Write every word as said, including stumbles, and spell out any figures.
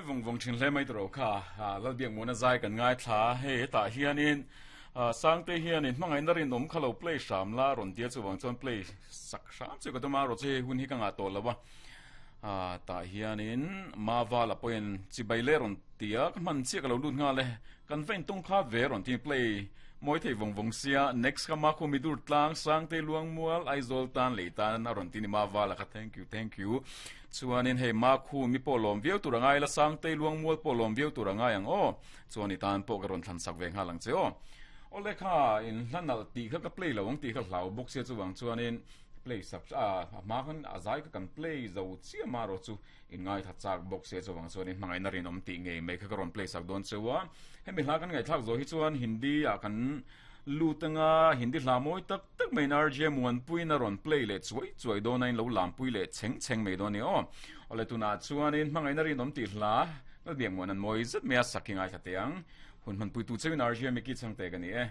Mawi vawng vawng thin hle mai tawh kha Lalbiakmuana zai kan ngaithla hei hetah hianin Sangte hianin hmangaihna rinawm kha lo play hram la rawn tia chuwang chuan play sak hram chu ka tum a rawh chu hei hun hi ka ngah tawh lo a tah hianin Mavala pawhin chibai le rawn tia ka hman chiah ka lo lut nghal e kan va intawng kha ve rawn ti play mawi thei vawng vawng sia next kha ma khu mi dur tlang Sangte Luangmual Aizawl tan lei tan a rawn ti ni Mavala kha thank you thank you chuanin hei ma khu mi pawh lawm viau tur angai la Sangte Luangmual pawh lawm viau tur angai ang aw chuan i tan pawh ka rawn thlan sak ve nghal ang che aw ole kha in hlanal ti kha ka play lo ang ti kha hlau bawk sia chuwang chuanin play sak a ma khan a zai ka kan play zo chiah ma ro chu in ngai tha chak bawk sia chuwang chuanin hmangaihna rinawm tih ngei mai kha ka rawn play sak dawn chewa hemi hla kan ngaithlak zo hi chuan Hindi ah kan lutanga Hindi hla mawi tak tak mai R J Muanpui na rawn play leh chuai chuai dawn a in lo lampui leh cheng cheng mai dawn ni aw ole tunah chuanin hmangaihna rinawm tih hla Lalbiakmuan an mawi zet mai a sak hi ngaithla teh ang hun hmanpui tu cheuin R J Mickey Chhangte ka ni e.